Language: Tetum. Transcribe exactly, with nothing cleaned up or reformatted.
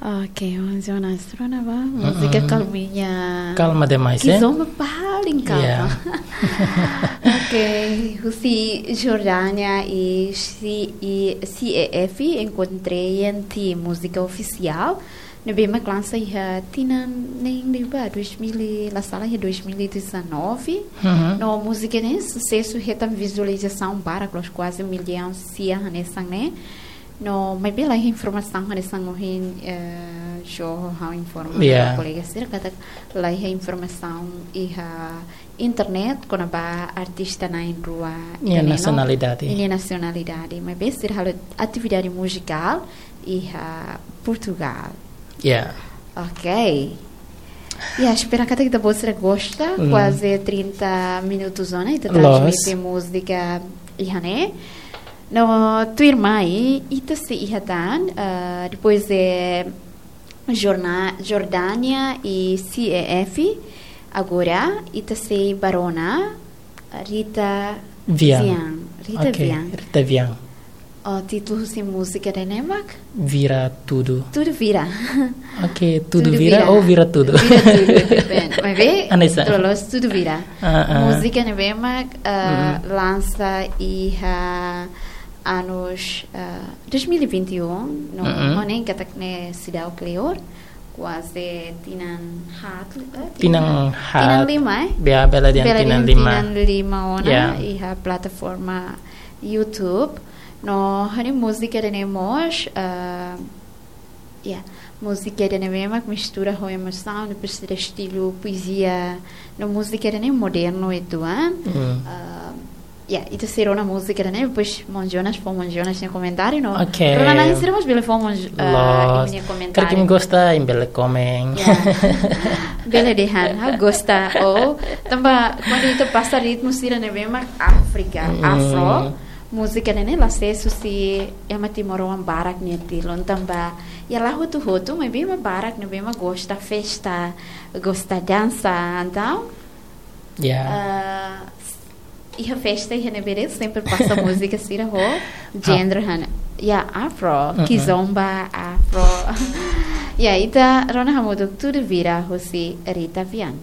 Oke, Jonas, rona ba múzika kalminha. Kalma demais, eh? Kizomba paling kalma. Yeah. Oke, husi Jordánia i C-, i C E F, Encontrei em Ti, múzika ofisiál. Ne'ebé mak lansa iha tinan ne'e liubá, dois mil e, la sala iha dois mil e dezanove. No múzika ne'e susesu, hetan vizualizasaun barak, los kuaze millaun sia hanesan ne'e. No, maibé laiha informasaun hanesan ohin, eh, Jo ha'u informa ba kolega sira katak laiha informasaun iha internet kona-ba artista na'in-rua ida-ne'e no nasionalidade. Nia nasionalidade. Maibé sira halo atividade muzikál iha Portugal. Yeah. Ok. Ya, espera katak ita-boot sira gosta, kuaze trinta minutos ona ita transmite múzika iha ne'e. No, tuirmai, ita sei iha tan, ah, depois de Jorna-, Jordánia i C E F, agora ita sei ba rona Rita Vian. Vian. Rita Vian. Rita Vian. Oh, títulu husi múzika ida-ne'e mak? Vira Tudu. Tudu Vira. Ok, Tudu Vira ou Vira Tudu? Vira Tudu, depende. Maibé, loos Tudu Vira. Múzika ne'ebé mak, ah, lansa iha anos, ah, dois mil e vinte e um, no, ho ne'e katak ne'e seidauk kleur, kuaze tinan haat, eh, tinan haat. Tinan lima, eh? Bele dehan tinan lima. Tinan lima ona iha plataforma YouTube. No, hanesan múzika ida-ne'e mós, ah, ya, múzika ida-ne'e mak mistura ho emosaun, depois de estilu poezia, no múzika ida-ne'e modernu uitoan. Ah, ya, ita sei rona múzika ida-ne'e, depois maun Jonas, fó maun Jonas nia komentáriu no. Ok. Rona na'in sira mós bele fó maun Jo-, ah, nia komentáriu. Karik imi gosta, imi bele komen. Ya. Bele dehan, ha'u gosta. Ou, tanba, kuandu ita pasa ritmu sira ne'ebé mak Áfrika, afro, múzika ne'e la sees husi ema timoroan barak nia tilun tanba, ya, la hotu-hotu, maibé ema barak ne'ebé mak gosta festa, gosta dansa, entaun, ya, ah, iha festa iha ne'ebé de'it sempre pasa múzika sira ho genre hanesan, ya, afro, kizomba, afro. Ya, ita rona hamutuk Tudu Vira husi Rita Vian.